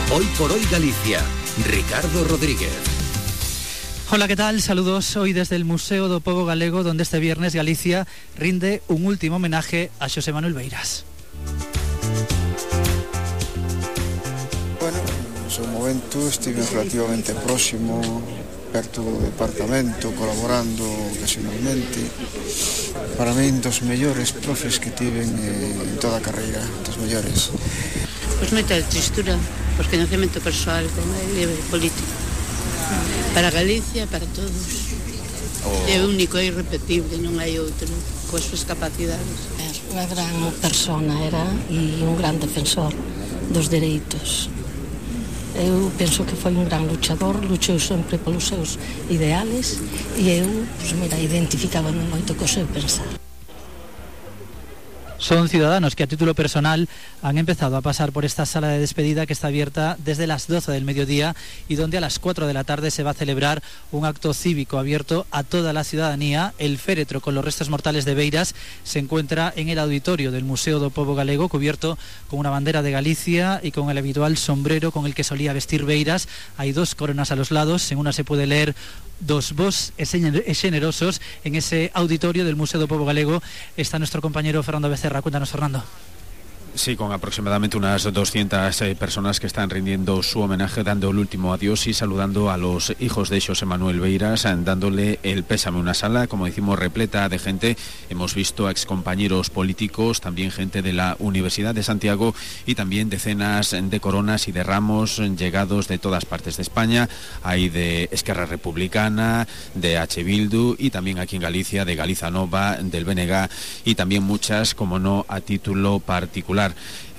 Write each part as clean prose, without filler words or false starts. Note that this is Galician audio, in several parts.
Hoy por hoy Galicia. Ricardo Rodríguez. Hola, ¿qué tal? Saludos hoy desde el Museo do Pobo Galego, donde este viernes Galicia rinde un último homenaje a Xosé Manuel Beiras. Bueno, no seu momento estive relativamente próximo, perto do departamento, colaborando ocasionalmente. Para min, dos mellores profes que tiven en toda a carreira, dos mellores. Pois moita tristura, pois coñecemento persoal con ele político. Para Galicia, para todos. É único, é irrepetible, non hai outro, coas súas capacidades. Unha gran persona era e un gran defensor dos dereitos. Eu penso que foi un gran luchador, luchou sempre polos seus ideales e eu, identificábame moito co seu pensar. Son ciudadanos que a título personal han empezado a pasar por esta sala de despedida que está abierta desde las 12 del mediodía y donde a las 4 de la tarde se va a celebrar un acto cívico abierto a toda la ciudadanía. El féretro con los restos mortales de Beiras se encuentra en el auditorio del Museo do Pobo Galego, cubierto con una bandera de Galicia y con el habitual sombrero con el que solía vestir Beiras. Hay dos coronas a los lados, en una se puede leer "Dos vos e generosos". En ese auditorio del Museo do Pobo Galego está nuestro compañero Fernando Becerra. Cuéntanos, Fernando. Sí, con aproximadamente unas 200 personas que están rindiendo su homenaje, dando el último adiós y saludando a los hijos de Xosé Manuel Beiras, dándole el pésame. Una sala, como decimos, repleta de gente. Hemos visto a excompañeros políticos, también gente de la Universidad de Santiago y también decenas de coronas y de ramos llegados de todas partes de España. Hay de Esquerra Republicana, de H. Bildu y también aquí en Galicia de Galiza Nova, del BNG y también muchas, como no, a título particular.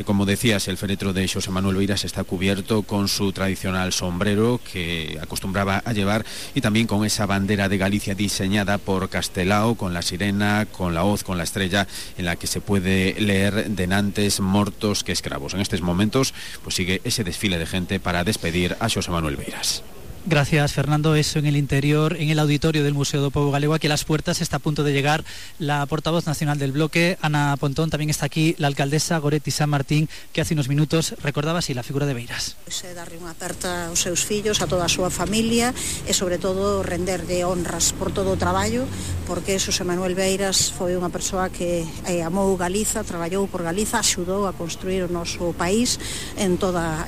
Como decías, el féretro de Xosé Manuel Beiras está cubierto con su tradicional sombrero que acostumbraba a llevar y también con esa bandera de Galicia diseñada por Castelao, con la sirena, con la hoz, con la estrella, en la que se puede leer "denantes mortos que escravos". En estos momentos pues sigue ese desfile de gente para despedir a Xosé Manuel Beiras. Gracias, Fernando. Eso en el interior, en el auditorio del Museo do Pobo Galego. Aquí a las puertas está a punto de llegar la portavoz nacional del bloque, Ana Pontón. También está aquí la alcaldesa Goretti San Martín, que hace unos minutos recordaba así la figura de Beiras. Darle unha aperta aos seus fillos, a toda a súa familia e, sobre todo, renderlle honras por todo o traballo, porque Xosé Manuel Beiras foi unha persoa que amou Galiza, traballou por Galiza, axudou a construir o noso país en toda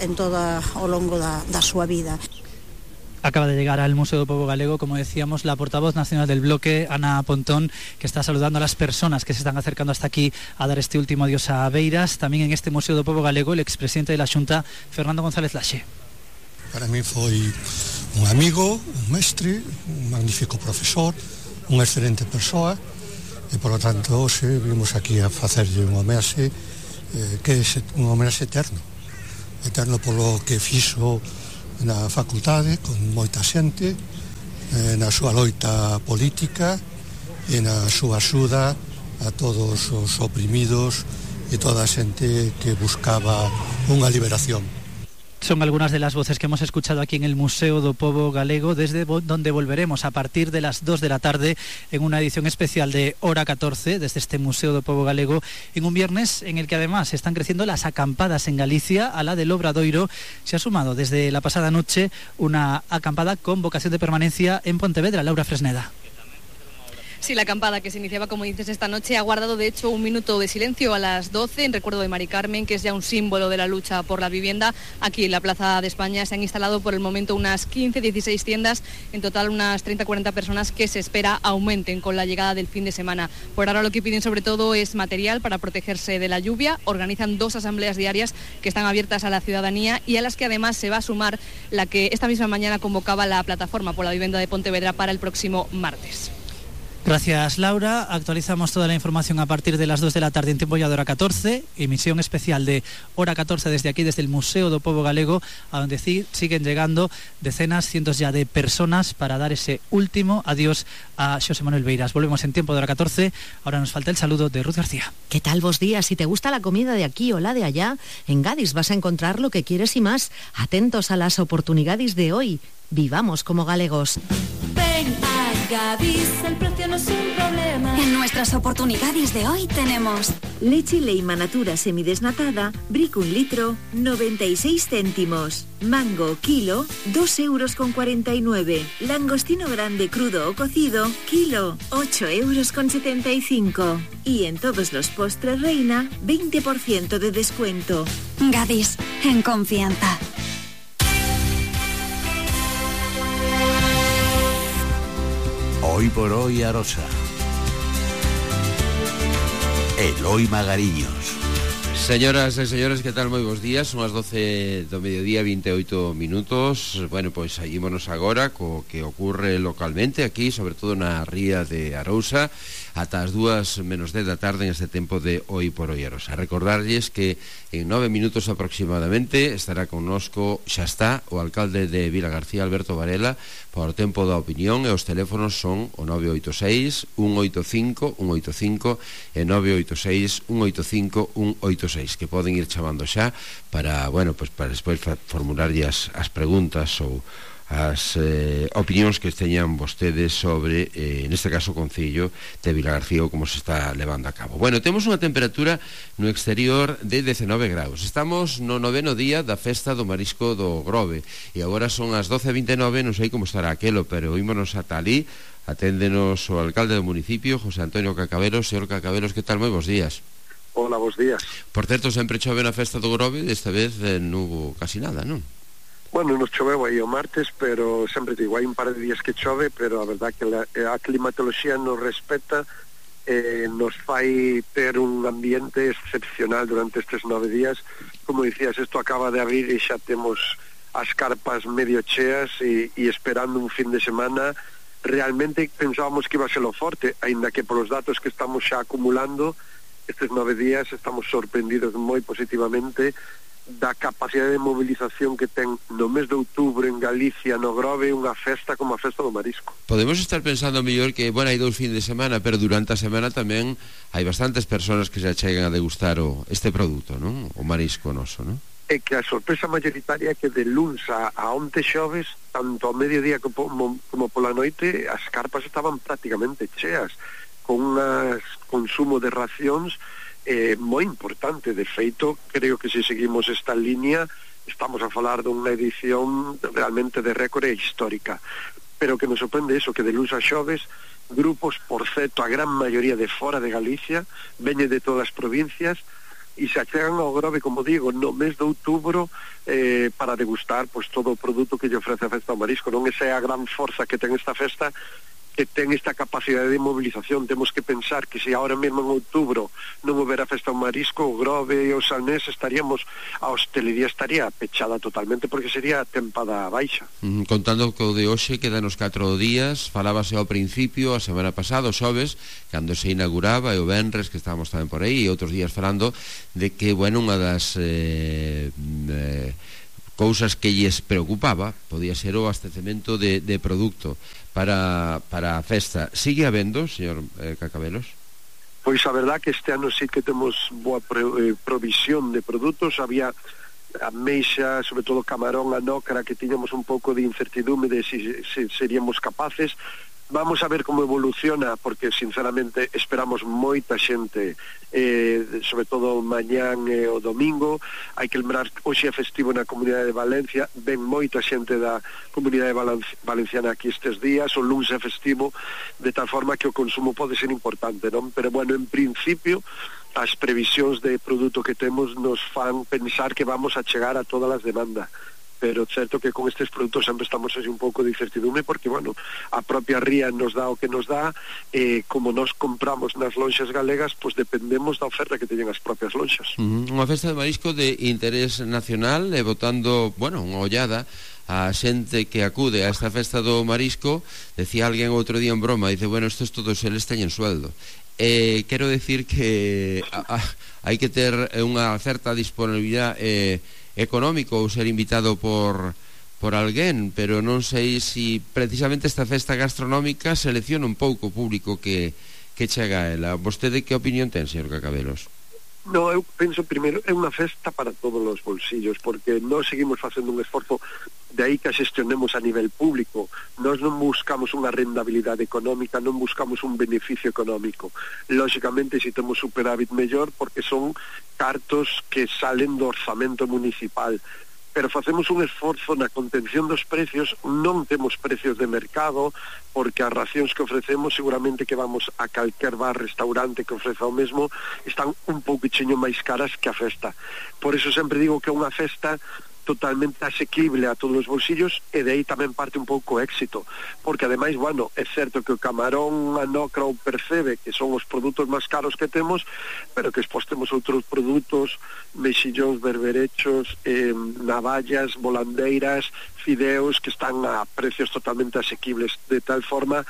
o longo da súa vida. Acaba de llegar al Museo do Pobo Galego, como decíamos, la portavoz nacional del bloque, Ana Pontón, que está saludando a las personas que se están acercando hasta aquí a dar este último adiós a Beiras. También en este Museo do Pobo Galego, el expresidente de la Xunta, Fernando González Laxe. Para mí foi un amigo, un mestre, un magnífico profesor, unha excelente persoa, e, por lo tanto, hoxe vimos aquí a facerlle un homenaxe que é un homenaxe eterno polo que fixo na facultade, con moita xente, na súa loita política e na súa axuda a todos os oprimidos e toda a xente que buscaba unha liberación. Son algunas de las voces que hemos escuchado aquí en el Museo do Pobo Galego, desde donde volveremos a partir de las 2 de la tarde en una edición especial de Hora 14 desde este Museo do Pobo Galego, en un viernes en el que además están creciendo las acampadas en Galicia. A la del Obradoiro se ha sumado desde la pasada noche una acampada con vocación de permanencia en Pontevedra. Laura Fresneda. Sí, la acampada que se iniciaba, como dices, esta noche ha guardado de hecho un minuto de silencio a las 12 en recuerdo de Mari Carmen, que es ya un símbolo de la lucha por la vivienda. Aquí en la Plaza de España se han instalado por el momento unas 15-16 tiendas, en total unas 30-40 personas que se espera aumenten con la llegada del fin de semana. Por ahora lo que piden sobre todo es material para protegerse de la lluvia. Organizan 2 asambleas diarias que están abiertas a la ciudadanía y a las que además se va a sumar la que esta misma mañana convocaba la Plataforma por la Vivienda de Pontevedra para el próximo martes. Gracias, Laura. Actualizamos toda la información a partir de las 2 de la tarde en tiempo ya de Hora 14, emisión especial de Hora 14 desde aquí, desde el Museo do Pobo Galego, a donde siguen llegando decenas, cientos ya de personas para dar ese último adiós a Xosé Manuel Beiras. Volvemos en tiempo de Hora 14, ahora nos falta el saludo de Ruth García. ¿Qué tal vos días? Si te gusta la comida de aquí o la de allá, en Gadis vas a encontrar lo que quieres y más. Atentos a las oportunidades de hoy. Vivamos como galegos. Ven a Gadis, el precio no es un problema. En nuestras oportunidades de hoy tenemos leche Leima Natura semidesnatada, brick 1 litro, 96 céntimos. Mango, kilo, 2,49 €. Langostino grande crudo o cocido, kilo, 8,75 €. Y en todos los postres Reina, 20% de descuento. Gadis, en confianza. Hoy por hoy Arosa. Eloi Magariños. Señoras e señores, que tal? Moi bons días. Son as 12 do mediodía, 28 minutos. Bueno, pois seguímonos agora co que ocorre localmente aquí, sobre todo na ría de Arousa, ata as 2:10 da tarde en este tempo de Hoy por Hoy Arousa. Recordarlles que en 9 minutos aproximadamente estará connosco, xa está, o alcalde de Vilagarcía, Alberto Varela, por tempo da opinión, e os teléfonos son o 986 185 185 e 986 185 186, que poden ir chamando xa para, bueno, pues para despois formularlle as preguntas ou as opinións que teñan vostedes sobre, neste caso, o Concello de Vilagarcía, como se está levando a cabo. Bueno, temos unha temperatura no exterior de 19 graus. Estamos no 9º día da festa do marisco do Grove, e agora son as 12:29, non sei como estará aquelo, pero ímonos ata ali. Aténdenos o alcalde do municipio, José Antonio Cacabelos. Señor Cacabelos, que tal? Moi bons días. Hola, bons días. Por certo, sempre chove na festa do Grove, desta vez non hubo casi nada, non? Bueno, nos choveu aí o martes, pero sempre digo, hai un par de días que chove, pero a verdad que a climatoloxía nos respeta, nos fai ter un ambiente excepcional durante estes 9 días. Como dicías, isto acaba de abrir e xa temos as carpas medio cheas e esperando un fin de semana. Realmente pensábamos que iba a ser lo forte, aínda que polos datos que estamos xa acumulando estes 9 días estamos sorprendidos moi positivamente da capacidade de movilización que ten no mes de outubro en Galicia, no Grove, unha festa como a festa do marisco. Podemos estar pensando mellor que, bueno, hai 2 fin de semana, pero durante a semana tamén hai bastantes persoas que se achegan a degustar este produto, non? O marisco noso, non? É que a sorpresa mayoritaria é que de luns a onte xoves, tanto ao mediodía como pola noite, as carpas estaban prácticamente cheas, con un consumo de racións moi importante. De feito, creo que se seguimos esta línea estamos a falar dunha edición realmente de récord histórica. Pero que nos sorprende eso, que de luns a xoves grupos, por certo, a gran maioría de fora de Galicia, veñen de todas as provincias e se achegan ao Grove, como digo, no mes de outubro para degustar pues todo o produto que lle ofrece a festa do marisco. Non? Esa é a gran forza que ten esta festa, que ten esta capacidade de movilización. Temos que pensar que se ahora mesmo en outubro non houbera festa ao marisco, o Grove e o Salnés estaríamos, a hostelería estaría pechada totalmente, porque sería tempada baixa. Contando que o de hoxe quedan os 4 días, falábase ao principio, a semana pasada, o xoves, cando se inauguraba, e o venres, que estábamos tamén por aí, e outros días falando de que, bueno, unha das cousas que lles preocupaba podía ser o abastecemento de produto para a festa. Sigue habendo, señor Cacabelos? Pois a verdad que este ano sí que temos boa provisión de produtos. Había ameixa, sobre todo camarón, anócara, que tiñamos un pouco de incertidume de si seríamos capaces. Vamos a ver como evoluciona, porque sinceramente esperamos moita xente, sobre todo mañán e o domingo. Hai que lembrar que hoxe é festivo na Comunidade de Valencia, ven moita xente da Comunidade Valenciana aquí estes días. O luns é festivo, de tal forma que o consumo pode ser importante, non? Pero bueno, en principio as previsións de produto que temos nos fan pensar que vamos a chegar a todas as demandas. Pero certo que con estes produtos sempre estamos así un pouco de incertidume, porque, bueno, a propia ría nos dá o que nos dá, como nos compramos nas lonxas galegas, pois dependemos da oferta que teñen as propias lonxas. Unha festa de marisco de interés nacional, botando, bueno, unha ollada a xente que acude a esta festa do marisco. Decía alguén outro día en broma, dice, bueno, estos todos eles teñen sueldo. Quero decir que hai que ter unha certa disponibilidade económico ou ser invitado por alguén, pero non sei se precisamente esta festa gastronómica selecciona un pouco o público que chega a ela. Vostede que opinión ten, señor Cacabelos? No, eu penso primeiro, é unha festa para todos os bolsillos, porque nós seguimos facendo un esforzo, de aí que a xestionemos a nivel público. Nós non buscamos unha rendabilidade económica, non buscamos un beneficio económico. Lóxicamente, se temos superávit mellor, porque son cartos que salen do orzamento municipal, pero facemos un esforzo na contención dos precios. Non temos precios de mercado, porque as racións que ofrecemos, seguramente que vamos a calquer bar, restaurante que ofreza o mesmo, están un pouquiño máis caras que a festa. Por eso sempre digo que é unha festa totalmente asequible a todos os bolsillos, e de aí tamén parte un pouco o éxito, porque ademais, bueno, é certo que o camarón, a nocra o percebe, que son os produtos máis caros que temos, pero que despois temos outros produtos, mexillóns, berberechos, navallas, volandeiras, fideos, que están a precios totalmente asequibles, de tal forma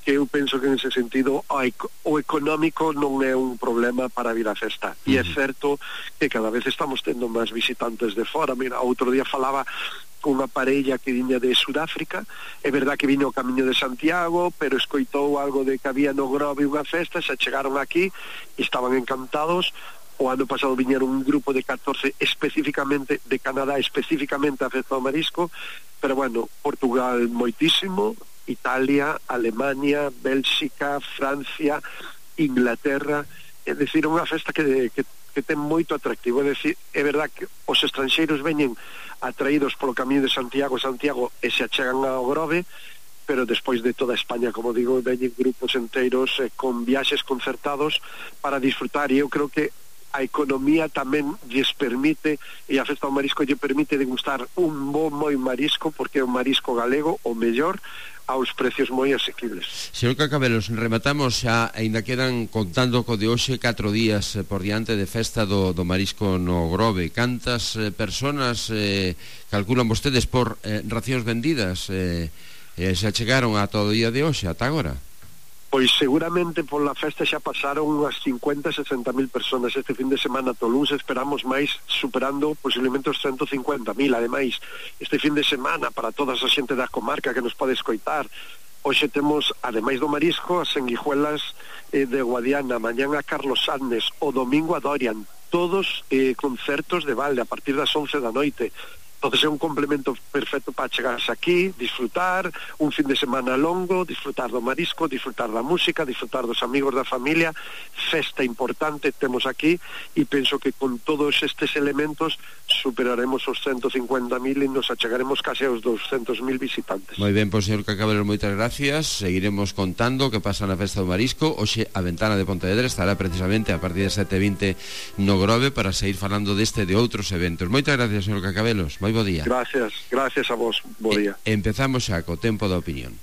que eu penso que en ese sentido o económico non é un problema para vir a festa. E é certo que cada vez estamos tendo máis visitantes de fora. Mira, outro día falaba con unha parella que viña de Sudáfrica, é verdad que viña o Camiño de Santiago, pero escoitou algo de que había no Grove unha festa, se chegaron aquí e estaban encantados. O ano pasado viñeron un grupo de 14 especificamente de Canadá, especificamente a festa do marisco, pero bueno, Portugal moitísimo, Italia, Alemania, Bélxica, Francia, Inglaterra. É dicir, unha festa que ten moito atractivo. É dicir, é verdad que os estranxeiros veñen atraídos polo Camiño de Santiago e se achegan ao Grove, pero despois de toda España, como digo, veñen grupos enteiros con viaxes concertados para disfrutar, e eu creo que a economía tamén lles permite, e a festa do marisco lle permite degustar un moi marisco, porque é un marisco galego, o mellor, aos precios moi asequibles. Señor Cacabelos, rematamos xa, aínda quedan, contando co de hoxe, 4 días por diante de festa do marisco no Grove. Cantas personas calculan vostedes por racións vendidas se achegaron a todo o día de hoxe, ata agora? Pois seguramente pola festa xa pasaron unhas 50-60 mil personas este fin de semana. Toluns esperamos máis, superando posiblemente os 150.000. Ademais, este fin de semana, para toda a xente da comarca que nos pode escoitar, hoxe temos, ademais do marisco, as sanguijuelas de Guadiana, mañán a Carlos Sáenz, o domingo a Dorian, todos concertos de balde a partir das 11 da noite. Entonces é un complemento perfecto para chegarse aquí, disfrutar un fin de semana longo, disfrutar do marisco, disfrutar da música, disfrutar dos amigos da familia. Festa importante temos aquí, e penso que con todos estes elementos superaremos os 150.000 e nos achegaremos case aos 200.000 visitantes. Moi ben, pois, señor Cacabelos, moitas gracias. Seguiremos contando que pasa na festa do marisco. Hoxe a ventana de Pontevedra estará precisamente a partir de 7:20 no Grove para seguir falando deste e de outros eventos. Moitas gracias, señor Cacabelos. Moi bo día. Gracias a vos, bo día. Empezamos xa co tempo da opinión.